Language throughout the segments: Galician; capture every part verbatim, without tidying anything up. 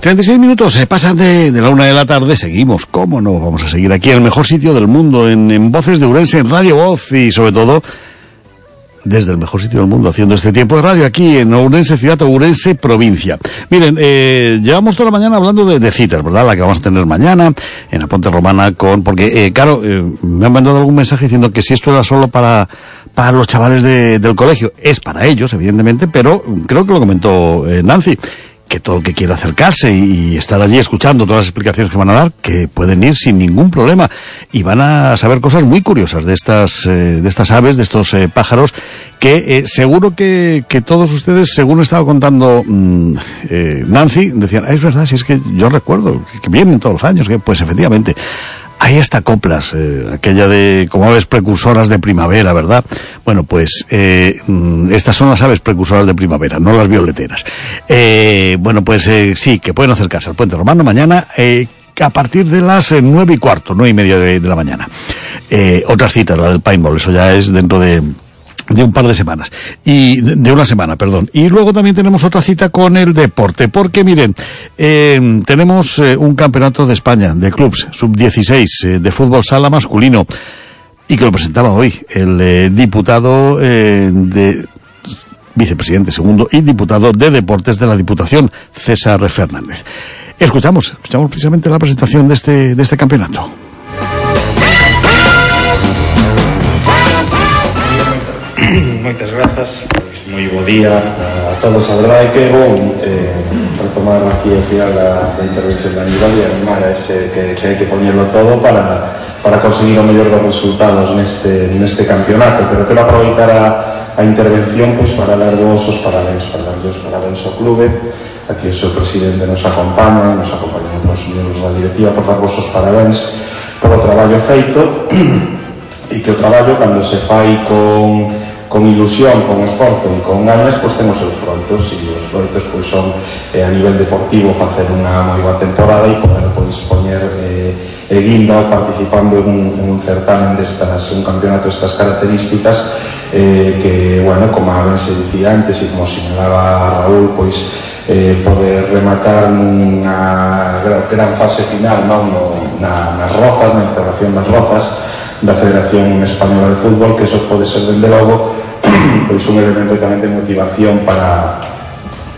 treinta y seis minutos se pasan de, de la una de la tarde. Seguimos, cómo no, vamos a seguir aquí en el mejor sitio del mundo, en, en Voces de Ourense, en Radio Voz, y sobre todo desde el mejor sitio del mundo, haciendo este tiempo de radio aquí en Ourense, ciudad, Ourense, provincia. Miren, eh, llevamos toda la mañana hablando de, de citas, ¿verdad? La que vamos a tener mañana en la Ponte Romana con, porque, eh, claro, eh, me han mandado algún mensaje diciendo que si esto era solo para, para los chavales de, del colegio. Es para ellos, evidentemente, pero creo que lo comentó eh, Nancy, que todo el que quiera acercarse y estar allí escuchando todas las explicaciones que van a dar, que pueden ir sin ningún problema, y van a saber cosas muy curiosas de estas eh, de estas aves, de estos eh, pájaros, que eh, seguro que, que todos ustedes, según estaba contando mmm, eh, Nancy, decían, ah, es verdad, si es que yo recuerdo que, que vienen todos los años, que pues efectivamente hay hasta coplas, eh, aquella de como aves precursoras de primavera, ¿verdad? Bueno, pues eh, estas son las aves precursoras de primavera, no las violeteras. Eh, bueno, pues eh, sí, que pueden acercarse al Puente Romano mañana eh, a partir de las eh, nueve y cuarto, nueve y media de, de la mañana. Eh, otras citas, la del paintball, eso ya es dentro de... de un par de semanas, y de, de una semana, perdón. Y luego también tenemos otra cita con el deporte, porque miren, eh, tenemos eh, un campeonato de España de clubs sub dieciséis eh, de fútbol sala masculino, y que lo presentaba hoy el eh, diputado eh, de vicepresidente segundo y diputado de deportes de la Diputación, César Fernández. Escuchamos, escuchamos precisamente la presentación de este, de este campeonato. Moitas grazas, pois moi bo día a todos. A verdade é que é bom eh, retomar aquí ao final da, da intervención de Aníbal e animar a ese que, que hai que poñerlo todo para, para conseguir o mellor dos resultados neste, neste campeonato, pero quero aproveitar a, a intervención pois para dar vos os parabéns, para dar vos parabéns ao clube. Aquí o seu presidente nos acompaña, nos acompañan os miembros da directiva, por dar vos os parabéns polo traballo feito, e que o traballo, cando se fai con con ilusión, con esforzo e con ganas, pois temos os froitos, e os froitos pois son eh, a nivel deportivo facer unha moi boa temporada e poder pois poñer eh, e guinda participando en un, en un certamen destas, un campeonato destas características, eh, que, bueno, como a ben se dicía antes e como señalaba Raúl, pois eh, poder rematar nunha gran fase final, non, no, na, nas rozas, na integración das rozas da Federación Española de Fútbol, que eso pode ser, dende logo, pois un elemento tamén de motivación para,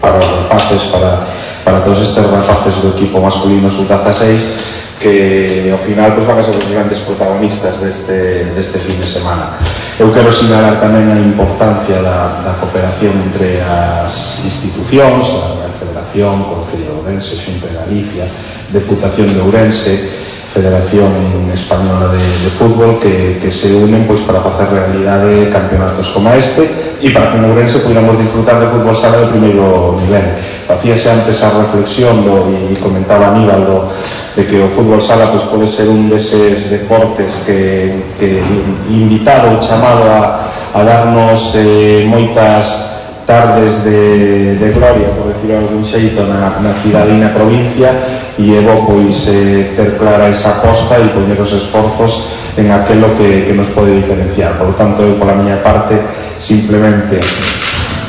para os rapaces, para, para todos estes rapaces do equipo masculino sub dieciséis, que ao final pois, van a ser os grandes protagonistas deste, deste fin de semana. Eu quero sinalar tamén a importancia da, da cooperación entre as institucións, a Federación, Concello de Ourense, Xunta de Galicia, Deputación de Ourense, Federación Española de, de Fútbol, que, que se unen pois, para facer realidade campeonatos como este e para que en Ourense podamos disfrutar de fútbol sala de primeiro nivel. Facíase antes a reflexión do, e comentaba Aníbal do, de que o fútbol sala pois, pode ser un deses deportes que, que invitado e chamado a, a darnos eh, moitas tardes de, de gloria, por decirlo de algún xeito, na, na cidade e na provincia, e é bo pois eh, ter clara esa aposta e poñer os esforzos en aquelo que, que nos pode diferenciar. Por lo tanto, eu pola miña parte, simplemente,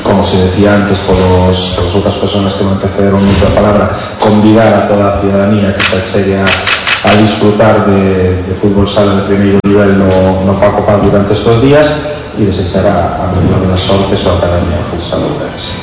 como se decía antes polos, polas outras persoas que me antecederon a palabra, convidar a toda a ciudadanía que se chegue a, a disfrutar de, de fútbol sala de primeiro nivel no, no Paco Paz durante estes días, e desexar a, a mellor das sortes ao Academia Futsal Ourense.